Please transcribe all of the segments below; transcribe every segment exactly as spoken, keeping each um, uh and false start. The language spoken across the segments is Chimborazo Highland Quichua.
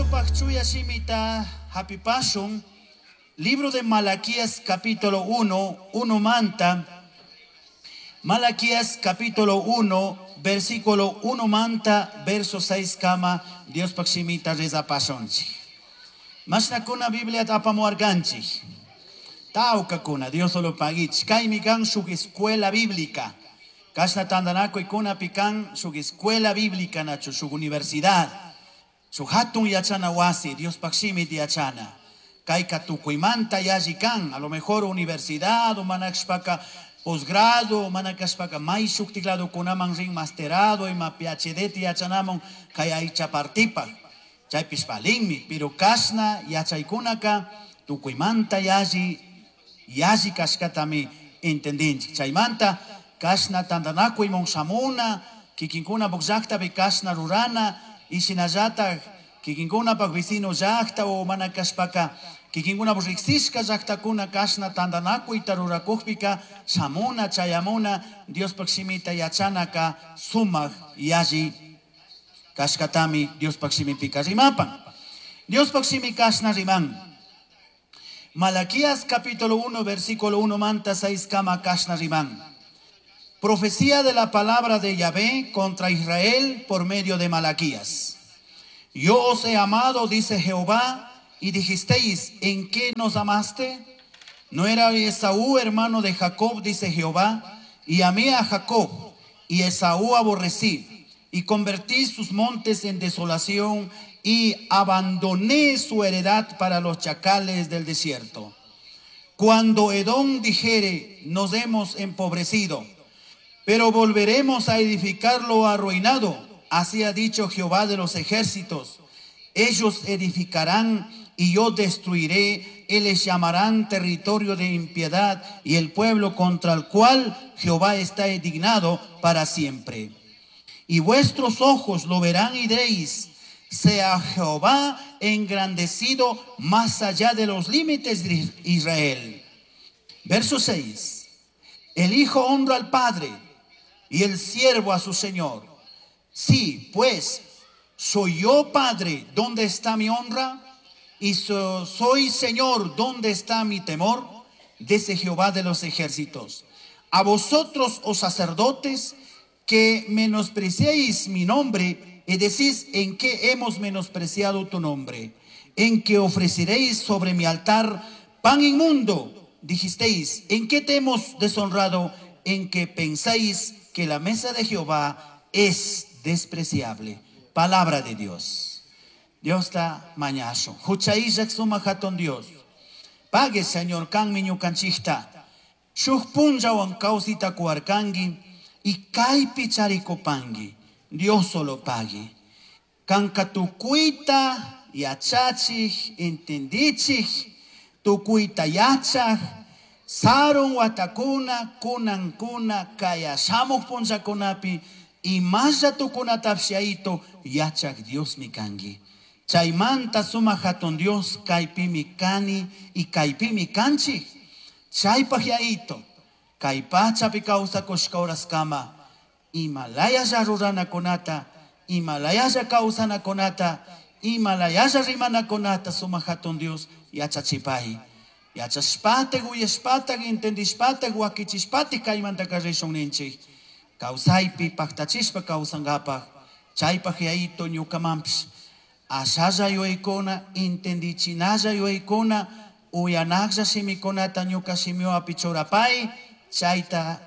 Taitamito pakchuya shimita hapipashun. Libro de Malaquías capítulo uno, uno manta. Malaquías capítulo uno, versículo uno manta, verso seis kama, Dios pakshimita reza pashonchi. Mashnakuna Biblia tapamuarganchi. Taucakuna, Dios solo paguich. Kaymi kan shuk escuela bíblica. Kashna tandanako ikuna pikan shuk escuela bíblica nacho, shuk universidad. Shuk hatun yachana wasi, Dios pakshimit yachana. Kayka tukuymanta yalli kan, a lo mejor universidad, o manakshpaka posgrado, manakashpaka may shuktiklado kunaman rin masterado, ima P H D yachanamon, kay aycha partipa. Chaypish palinmi, pero kashna yachaykunaka tukuymanta yalli, yalli kashkatami entendinchik. Chaymanta kashna tandanakuymon shamuna, kikinkuna llaqtapi kashna rurana, ishinallataq kikinkunapaq vecino llaqta o manakashpaka kikinkunapaq riqsishka llaqtakuna kashna tandanakuyta rurakukpika shamuna chayamuna Diospaq shimita yachanaka sumaq yalli kashkatami Diospaq shimipika rimapan. Diospaq shimi kashna riman. Malaquías capítulo uno versículo uno manta seis kama kashna riman. Profecía de la palabra de Yahvé contra Israel por medio de Malaquías. Yo os he amado, dice Jehová, y dijisteis, ¿en qué nos amaste? ¿No era Esaú hermano de Jacob, dice Jehová? Y amé a Jacob, y Esaú aborrecí, y convertí sus montes en desolación, y abandoné su heredad para los chacales del desierto. Cuando Edom dijere, nos hemos empobrecido, pero volveremos a edificar lo arruinado, así ha dicho Jehová de los ejércitos. Ellos edificarán y yo destruiré, y les llamarán territorio de impiedad y el pueblo contra el cual Jehová está indignado para siempre. Y vuestros ojos lo verán y diréis, sea Jehová engrandecido más allá de los límites de Israel. Verso seis. El hijo honra al padre y el siervo a su señor. Sí, pues, soy yo padre, ¿dónde está mi honra? Y so, soy señor, ¿dónde está mi temor? Dice Jehová de los ejércitos. A vosotros, oh sacerdotes, que menospreciéis mi nombre, y decís, ¿en qué hemos menospreciado tu nombre? En que ofreceréis sobre mi altar pan inmundo. Dijisteis, ¿en qué te hemos deshonrado? En que pensáis que la mesa de Jehová es despreciable. Palabra de Dios. Dios está mañazo. Huchaishak suma hatun Dios. Pague, Señor, kan miñu kanchista. Shuj punllawan kausita kuarkangi y kaypi charikupangi. Dios solo pague. Kanka tukuita yachachij, entendichij, tukuita yachaj, sarun watakuna, kunan kuna, kaya shamuj punllakunapi, y más tukunatapsiaito yachaj Dios mi kangi. Chaymanta suma hatun Dios kaypimi kani y kaypimi kanchi. Chaypaj yaito, kaypachapi kawsakushka horaskama, imalayalla ruranakunata, imalayalla kawsanakunata, imalayalla rimanakunata suma hatun Dios yachachipay. Yachashpatag, uyashpatag, entendishpatag, wakichishpatag kaymanta karrishun ninchik. Kawsaypi paktachishpa kawsankapaj, chaypaj yaito ñukamanpish. Ashalla yuyaykuna, entendichinalla yuyaykuna, uyanaklla shimikunata ñuka shimiwapi churapay, chayta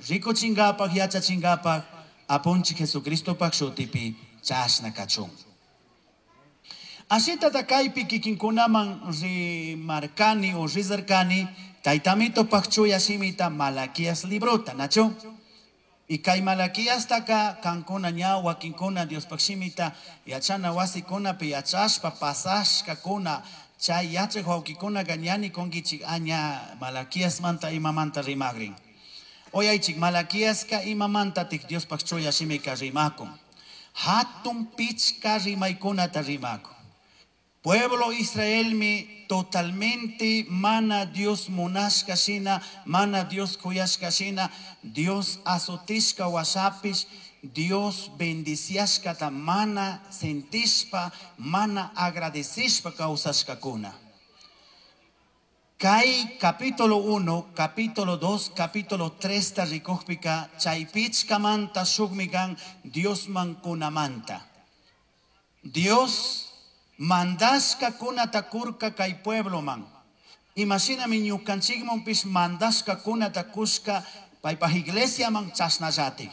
rikuchinkapaj, yachachinkapaj, apunchik Jesucristopaj shutipi chashna kachun. Ashita kaypi kikinkunaman rimarkani o rizarkani, taytamito pakchuya shimita Malaquías librota, nacho? Y kay Malaquías taka kankuna ña wakinkuna Diospaj shimita yachana wasikunapi yachashpa pasashkakuna chay yachaj wawkikuna ñani kunkichik aña Malaquías manta imamanta rimagrin. Oyaychik Malaquíaska imamanta tik Diospaj chuya shimika rimakun. Hatun pichka rimaykunata rimakun. Pueblo Israel mi totalmente mana Dios munashka shina, mana Dios kuyashka shina, Dios azotishka washapish, Dios bendiciashkata mana sentishpa, mana agradecishpa kawsashkakuna. Kay capítulo uno, capítulo dos, capítulo tres ta rikukpika chay pichkamanta shukmi kan Diosman kunamanta. Dios mandashka kunata kurka kay puebloman. Imashinami ñukanchikmanpish mandashka kunata kushka paypaj iglesiaman chashnallatik.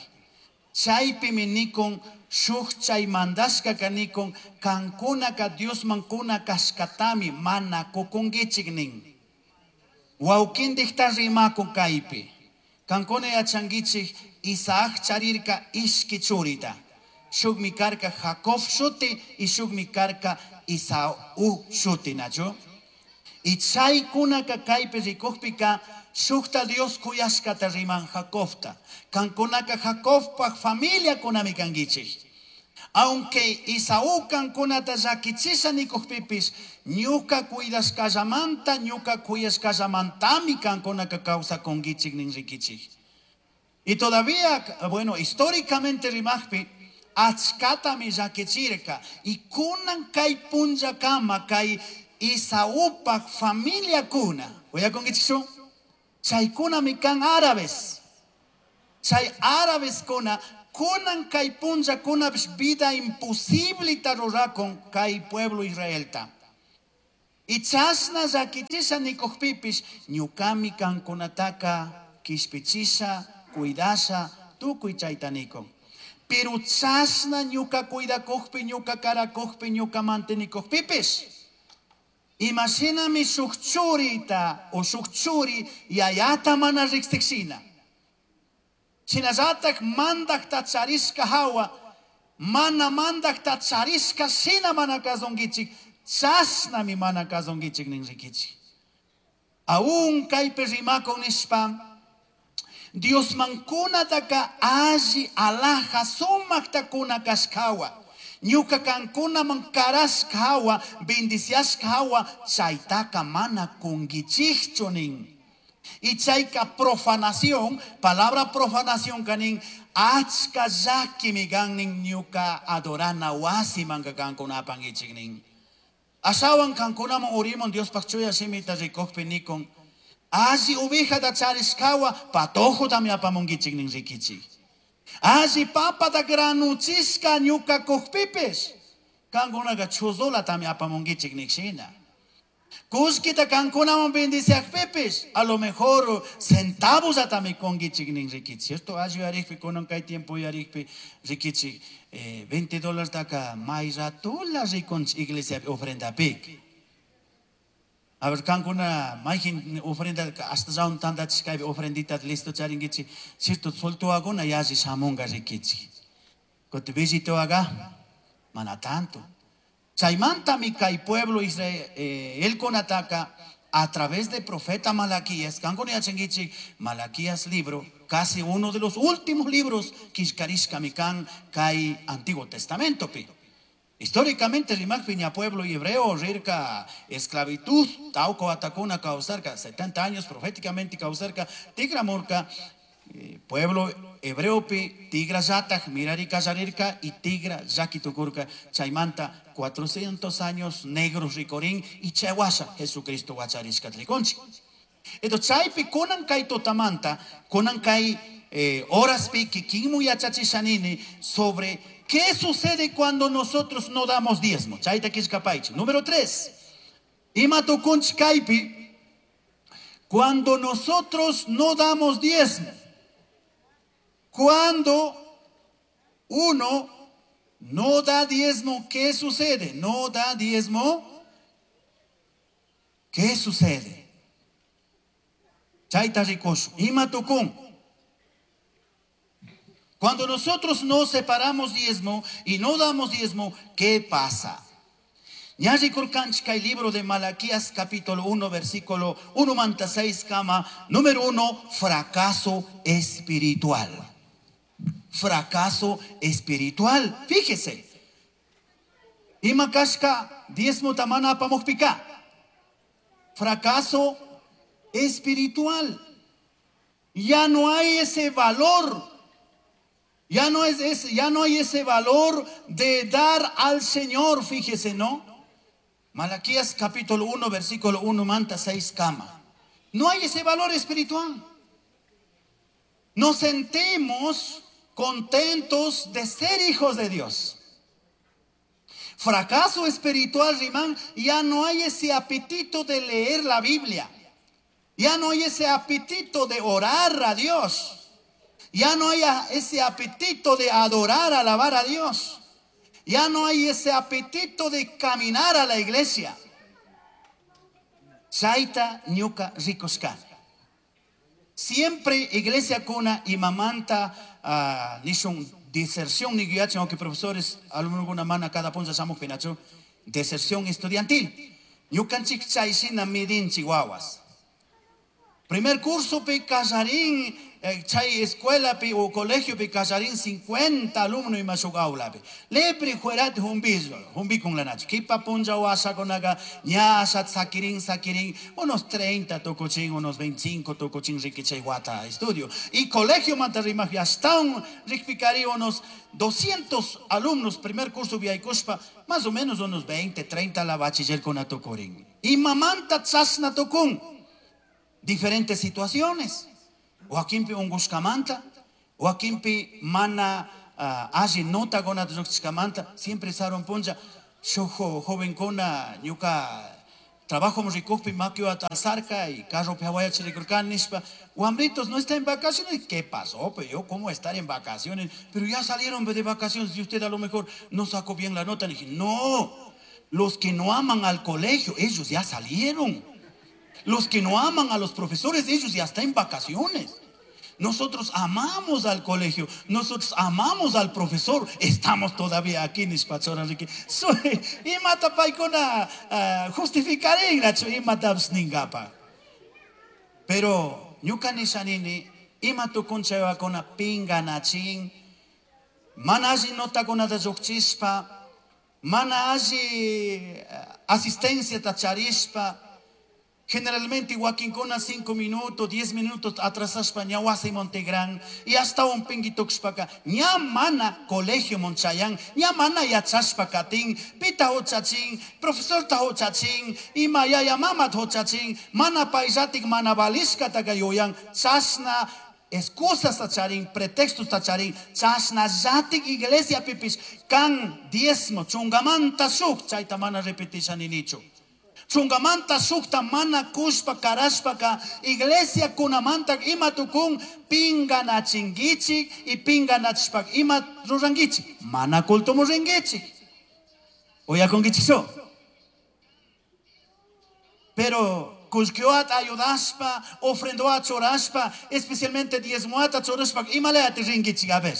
Chaypimi nikun shuk chay mandashka kanikun kankunaka Diosman kuna kashkatami mana kukunkichik nin. Wawkindikta rimakun kaypi. Kankuna yachankichik Isaac charirka ishki churita. Shukmi karka Jacob shuti y shukmi karka Isaú shuti, nachu? Y chaykunaka kaypi rikukpika shukta Dios kuyashkata riman Jacobta. Kankunaka Jacobpaj familia kunami kankichik. Aunque Isaú kankunata llakichisha nikukpipis, ñuka cuidashkallamanta, ñuka kuyashkallamantami kankunaka kawsakunkichik nin rikichik. Y todavía, bueno, históricamente rimajpi, achkatami llakichirka. Y kunan kay punllakama kay Isaúpaj familia kuna. Uyakunkichikchu? Chaykunami kan árabes. Chay árabes kuna, kunan kay punlla kunapish vida imposible rurakun kay pueblo Israelta. Y chashna llakichisha nikukpipish, ñukami kankunataka kishpichisha, cuidasha, tukuy chayta nikun. Pero chashna ñuka cuidakukpi, ñuka karakukpi, ñuka mantenikukpipish, imashinami shuk churita o shuk churi yayata mana riqsikshina. Shinallatak mandakta charishka hawa, mana mandakta charishka shina mana kasunkichik, chashnami mana kasunkichik nin rikichik. Aún kaypi rimakun nishpa, Diosman kunataka alli alaja sumakta kuna kashkawa. Ñuka kankunaman karashka hawa, bendiciashka hawa, chaytaka mana kunkichikchu nin. Y chayka profanación, palabra profanación kanin, achka llakimi kan nin ñuka adorana wasimanka kankunapankichik nin. Ashawan kankunaman urimun Diospaj chuya shimita rikukpi nikun, alli ovejata charishkawa patojotami apamunkichik nin rikichik. Alli papata granuchishka ñuka kukpipish, kankunaka chuzulatami apamunkichik nikshina. Kullkita kankunaman bendiciakpipish, a lo mejor centavos atami kunkichik nin rikichik. Cierto, alli yarikpi, kunan kay tiempo yarikpi rikichik, eh, veinte dólares taka may ratula rikunchik iglesiapi ofrendapik. A ver, kankuna mayjin ofrenda hasta zaun tandachishkaypi ofrendita listo charinkichik, cierto, soltuaguna yalli shamunga rikichik. Kuti billituaga, mana tanto. Chaymantami kay pueblo Israel, eh, el konataka a través de profeta Malaquías, kankuna yachankichik, Malaquías libro, casi uno de los últimos libros kishkarishkami kan kay Antiguo Testamento pi. Históricamente, rimakpi ña pueblo hebreo rirka esclavitud, tauco atakuna causarka, setenta años proféticamente causarka, tigramurka, eh, pueblo hebreo pi, tigra yataj, mirarika yarirka y tigra yakitukurka, chaymanta cuatrocientos años negros ricorín y chayhuasha Jesucristo huacharishka triconchi. Entonces, chaypi kunan kay totamanta, kunan kay, eh, horas pi, kikinmu yachachishanini sobre qué sucede cuando nosotros no damos diezmo. Chayta kishkapaichi. Número tres. Ima tukunch kaypi, cuando nosotros no damos diezmo. Cuando uno no da diezmo, ¿qué sucede? No da diezmo, ¿qué sucede? Chayta rikush. Ima tukun. Cuando nosotros no separamos diezmo y no damos diezmo, ¿qué pasa? Ñalli kurkanchik kay libro de Malaquías capítulo uno versículo uno manta seis kama, número uno, fracaso espiritual. Fracaso espiritual. Fíjese. Ima kashka diezmo tamana apamukpika. Fracaso espiritual. Ya no hay ese valor. Ya no, es ese, ya no hay ese valor de dar al Señor, fíjese, ¿no? Malaquías capítulo uno, versículo uno, manta seis kama. No hay ese valor espiritual. Nos sentimos contentos de ser hijos de Dios. Fracaso espiritual, Rimán, ya no hay ese apetito de leer la Biblia. Ya no hay ese apetito de orar a Dios. Ya no hay ese apetito de adorar, alabar a Dios. Ya no hay ese apetito de caminar a la iglesia. Chaita ñuka rikushkani. Siempre iglesia kuna y mamanta uh, nishun deserción ni guiachen, aunque profesores alumnos mana cada punza shamuj pinachu deserción estudiantil. Ñukanchik chayshina midinchik wawas. Primer curso pi kallarin eh, chay escuela pi o colegio pi kallarin cincuenta alumnos ima shuk aula pi. Lepri juerat humbi humbi con la nacho. Kipa punja washa konaga ña ashat sakirin sakirin unos treinta tocochin, unos veinticinco tocochin riquichay guata estudio. Y colegio mantarima hasta un rikpicari unos doscientos alumnos primer curso viaykushpa más o menos unos veinte, treinta la bachiller con atocorin. Y mamanta chasna tocun. Diferentes situaciones. O aquimpi ungushkamanta, o aquimpi mana uh, alli nota gona lluqchishkamanta, siempre saron punlla, shuj jovenkuna ñuka trabajo rikukpi makiwata alzarka y carro hawayachirikurkani nishpa, wambritos no está en vacaciones. ¿Qué pasó? Pues yo, ¿cómo estar en vacaciones? Pero ya salieron de vacaciones y usted a lo mejor no sacó bien la nota. Le dije, no, los que no aman al colegio, ellos ya salieron. Los que no aman a los profesores, ellos ya están en vacaciones. Nosotros amamos al colegio, nosotros amamos al profesor, estamos todavía aquí en Ispachora. Imata paikuna justificaré, imata ningapa. Pero ñuka nishanini, ima tukunchayakuna pinganachin, mana alli notakunata lluqchispa, mana alli asistencia tacharishpa. Generalmente wakinkuna cinco minutos, diez minutos atrasashpa ña wasi Montegrán y hasta un pinguituxpaka ña mana colegio monchayan, ña mana yachashpa katin, pita hochachin, profesor ta hochachin, ima yaya mama hochachin, mana paisatik mana balishka tagayoyan, chasna excusas tacharin, pretextos tacharin, chasna yatik iglesia pipis, kan diezmo, chungamanta shuk, chayta mana repetisha ninichu. Chungamanta sukta mana kushpa karashpaka iglesia kunamanta ima tukun pinganachingichik y pinganachpak ima rurangichik mana culto muringichik. Oyakongichik. Pero kushkioat ayudaspa, ofrendoat choraspa, especialmente diezmoat choraspa ima leati ringichik a ver.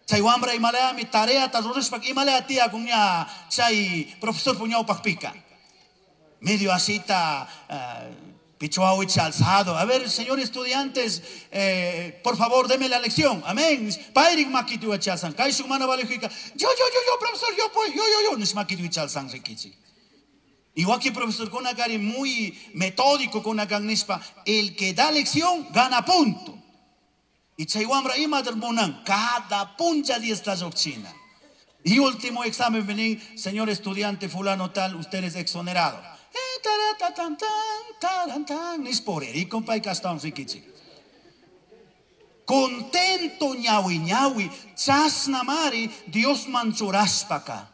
Chay wambra ima lea mi tarea ta rurashpak ima lea tía kunya chay profesor puñao pakpika. Medio asita, uh, pichuawich alzado. A ver, señor estudiantes, eh, por favor, deme la lección. Amén. Pairik makituachalsan. Kaishuk mana valejika. Yo, yo, yo, yo, profesor, yo, pues, yo, yo, yo. Nismakituachalsan rikichi. Igual que profesor Konakari, muy metódico con nispa. El que da lección, gana punto. Y chaywambra ima del cada puncha diez la yochina. Y último examen, vení, señor estudiante fulano tal, usted es exonerado. Contento ñawi ñawi, chasnamari, Dios manchuraspaka.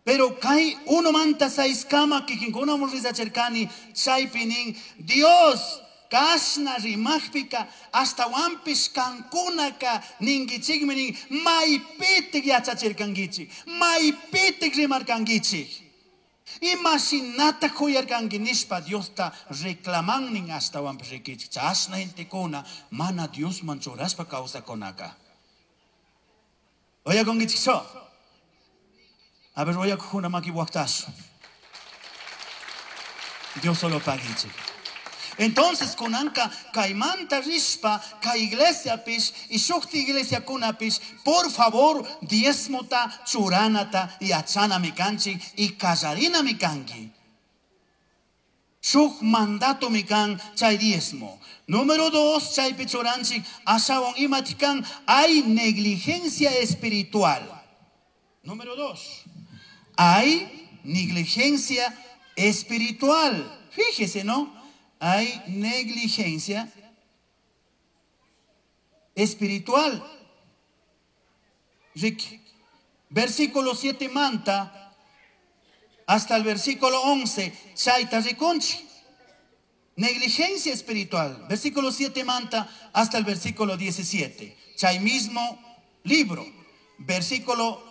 Pero kai uno manta seis kama kikinkuna murrizacherkani, chaypinin, Dios kasna rimajpika, hasta wampis kankunaka ningichikminin, maypitik yachachirkangichik, maypitik rimarkangichik. Imashinata kuyarkanki nishpa Diosta reclamannin hasta wampis rikichik. Chasna gentekuna mana Dios manchuraspa kawsakunaka. Oyakongichik so. A ver, oyakuna maki waktash. Dios solo pagichik. Entonces, kunanka kaimanta rishpa, ka iglesia pish, y shukti iglesia kuna pish, por favor, diezmota, churanata, y achana mi kanchi, y kallarina mi kanki. Shuk mandato mikan chay diezmo. Número dos, chaypi churanchik ashawan imatikan hay negligencia espiritual. Número dos, hay negligencia espiritual. Fíjese, ¿no? Hay negligencia espiritual. Ricky. Versículo siete manta hasta el versículo once, chayta rikunchi. Negligencia espiritual. Versículo siete manta hasta el versículo diecisiete. Chay mismo libro. Versículo,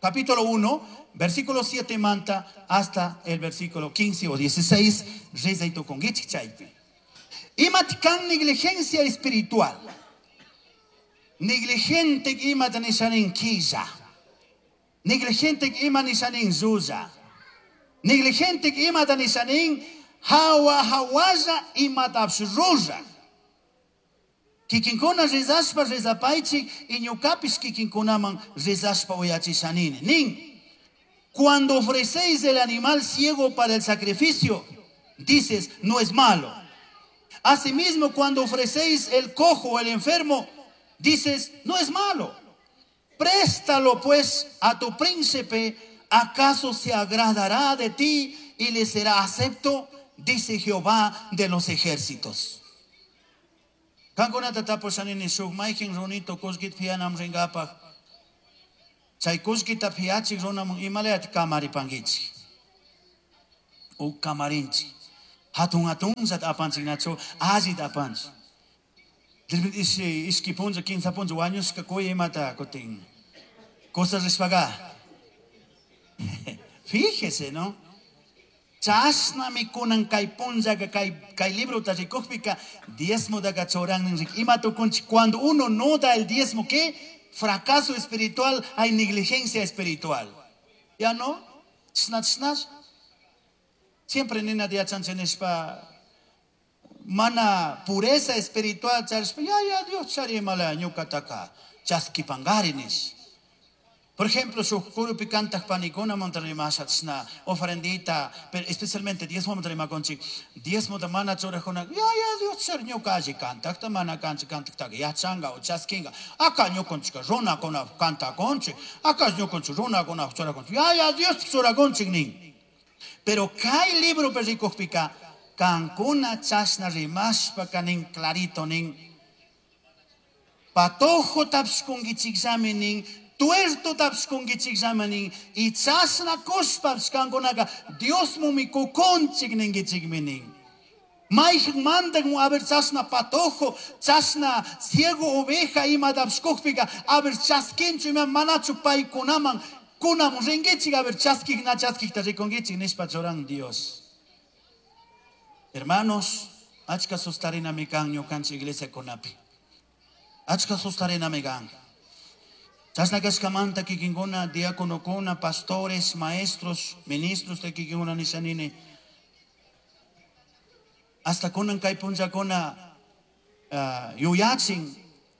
capítulo uno, versículo siete manta hasta el versículo quince o dieciséis. Rezaito con chaypi. Imatkan negligencia espiritual. Negligente imata nishanin quilla. Negligente ima nishanin zuza. Negligente imata nishanin hawa hawaza imatapsh ruza. Kikinkuna rezaspa rezapaichi iñukapis kikinkunaman rezaspa uyachishanini. Nin. Cuando ofrecéis el animal ciego para el sacrificio, dices, no es malo. Asimismo, cuando ofrecéis el cojo o el enfermo, dices, no es malo. Préstalo pues a tu príncipe, ¿acaso se agradará de ti y le será acepto? Dice Jehová de los ejércitos. Kankunata tapushanini shuk mayqin runito kullkita pianam ringapaj. Chay kullkita piachik runaman imalayata kamaripankichik. U kamarinchik. Hatun hatunllata apanchiknachu allita apanchik. Ishki punlla, kinsa punlla, wañushka kuy imata kutin. Cosas rishpaga. Fíjese, ¿no? Chashnami kunan kay punllaka kay kay libro rikukpika diezmo daga choran ima tukunchik. Cuando uno no da el diezmo, ¿qué? Fracaso espiritual, hay negligencia espiritual. ¿Ya no? Chashna chashna. Siempre nina diachanchishpa mana pureza espiritual charishpa ya ya Dios chari mala ñuqataka chaskipangari nish. Por ejemplo, su kurupi kantaq panikuna montarrimasha chashna ofrendita, pero especialmente diezmo montarrimakunchik, diezmo ta mana churajuna, ya ya Dios chari ñuqa alli kantaqta mana kanchik kantaqtaqa yachanqa o chaskinqa, aka ñuqanchikqa runakuna kantakunchik, aka ñuqanchik runakuna churakunchik, ya ya Dios churakunchik nin. Pero kay libro rikukpika kankuna chashna rimashpa kanin clarito nin patojo tapshkunkichikllami nin, tuerto tapshkunkichikllami nin, y chashna kushpapish kankunaka Diosmumi kukunchik ninkichikmi nin. Mayqin mandan a ver chashna patojo, chashna ciego oveja ima tapshkukpika, a ver chaskinchu ima manachu paykunaman kunamun rinkichik, a ver chaskik na chaskikta rikunkichik nishpa churan Dios. Hermanos, achka sustarinami kan ñukanchik iglesia kunapi. Achka sustarinami kan. Chashna kashkamanta kikinkuna, diáconokuna, pastores, maestros, ministros de kikinkuna nishanini. Hasta kunan kay punllakuna uh, yuyachin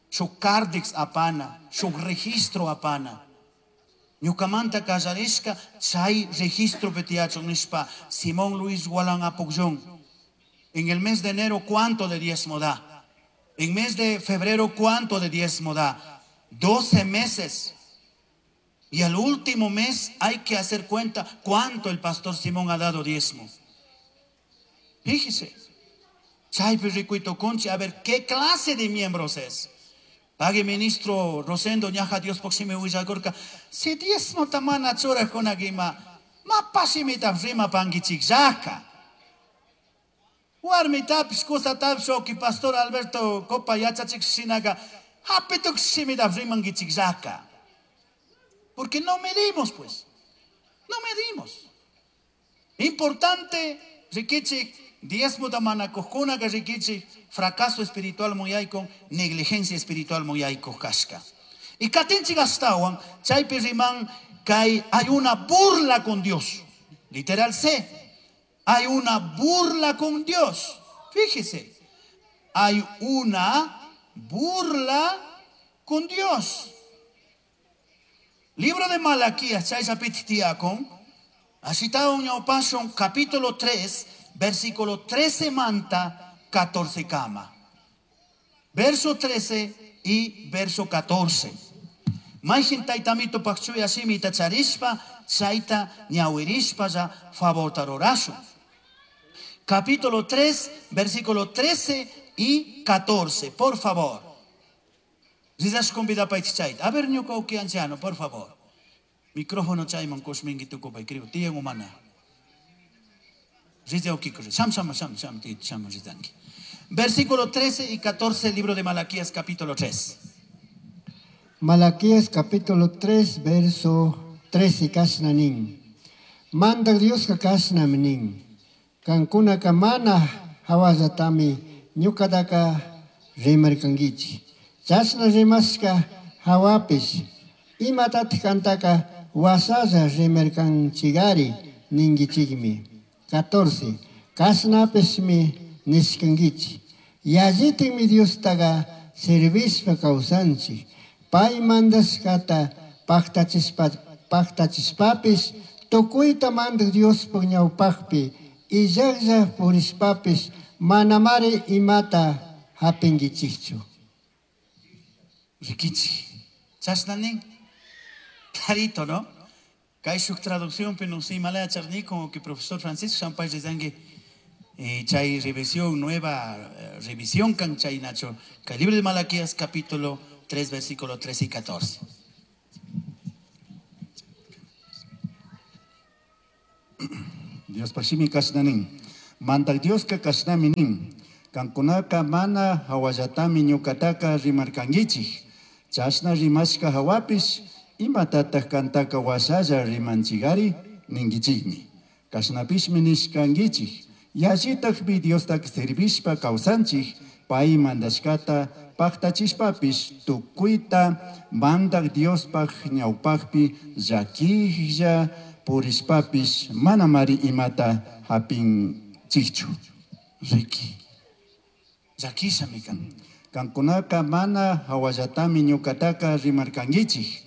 shuk kardix apana, shuk registro apana. Ñukamanta kallarishka chay registro tiyachun nishpa Simón Luis Gualán Apucllón. En el mes de enero, ¿cuánto de diezmo da? En mes de febrero, ¿cuánto de diezmo da? doce meses. Y al último mes hay que hacer cuenta cuánto el pastor Simón ha dado diezmo. Fíjese. Chaypi rikuito kunchi, a ver, ¿qué clase de miembros es? Pague ministro Rosendo, ñaja Dios poxime huillakurka. Si diezmo tamana churajkunakima, mapashimita rima pankichikllaka. Warmitapish kusatapish oki pastor Alberto Copa yachachik shinaka hapituk shimita rimankichikllaka. Porque no medimos, pues. No medimos. Importante, rikichik, diezmo tamanakuqkuna ka rikichik, fracaso espiritual muyaykun, negligencia espiritual muyaykuq kashka. Y katinchik astawan, chaypi riman kay hay una burla con Dios. Literal C. Hay una burla con Dios. Fíjese. Hay una burla con Dios. Libro de Malaquías, chay sapiti tiyakun, así está un capítulo tres, versículo trece manta catorce kama. Verso trece y verso catorce. Mayhin taytamito pakchuya shimita charishpa, chayta ñawirishpa ya favorta rurashun. Capítulo tres, versículo trece y catorce, por favor. Rizash convida pa chayta. A ver, ñuka uki anciano, por favor. Micrófono chayman kushmingi tukupay, creo. Tiyan humana. Riza uki kush. Sham, sham, sham, sham, ti, sham, rizanki. Versículo trece y catorce, libro de Malaquías, capítulo tres. Malaquías, capítulo tres, verso trece, kasnanin. Manda Dios ka kasnamnin. Kankuna kamana hawazatami ñukataka rimarkankichi. Chashna rimashka hawapish imatataq kantaka wasalla rimarkanchigari ninkichikmi. catorce. Kashnapishmi nishkankichi. Yallitinmi Diostaqa servishpa kawsanchik. Pay mandashkata paqtachispa, paqtachishpapish tukuyta mandaq Diospaq ñawpaqpi illaqlla purishpapish manamari imata hapinkichikchu. Rikichi. Chashna nin. Clarito, ¿no? Kay shuk traducción pero no sé, malaya charni, como que profesor Francisco Champay Rezangue, eh, chay revisión, nueva, eh, revisión kan chay nacho, kay libro de Malaquías capítulo tres, versículo trece y catorce. Dios pashimi kashnanin. Mandak Dios ka kashnami nin. Kankunaka mana hawallatami ñukataka rimarkankichik. Chashna rimashka hawapish imatataq kantaka washalla rimanchigari ninkichikmi. Kashnapishmi nishkankichik. Yallitakmi Diostak servishpa kawsanchik, pay mandashkata paqtachishpapish tukuyta mandak Diospaq ñawpaqpi llakilla purishpapish manamari imata hapinchikchu. Riki. Llakishami kan. Kankunaka mana hawallatami ñukataka rimarkankichik.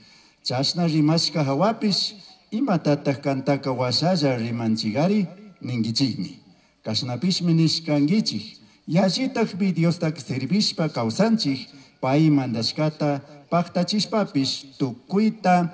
Chashna rimashka hawapish imatataq kantaka washalla rimanchigari ninkichikmi. Kashnapishmi nishkankichik. Yallitakmi Diostak servishpa kawsanchik, pay mandashkata paqtachishpapish tukuyta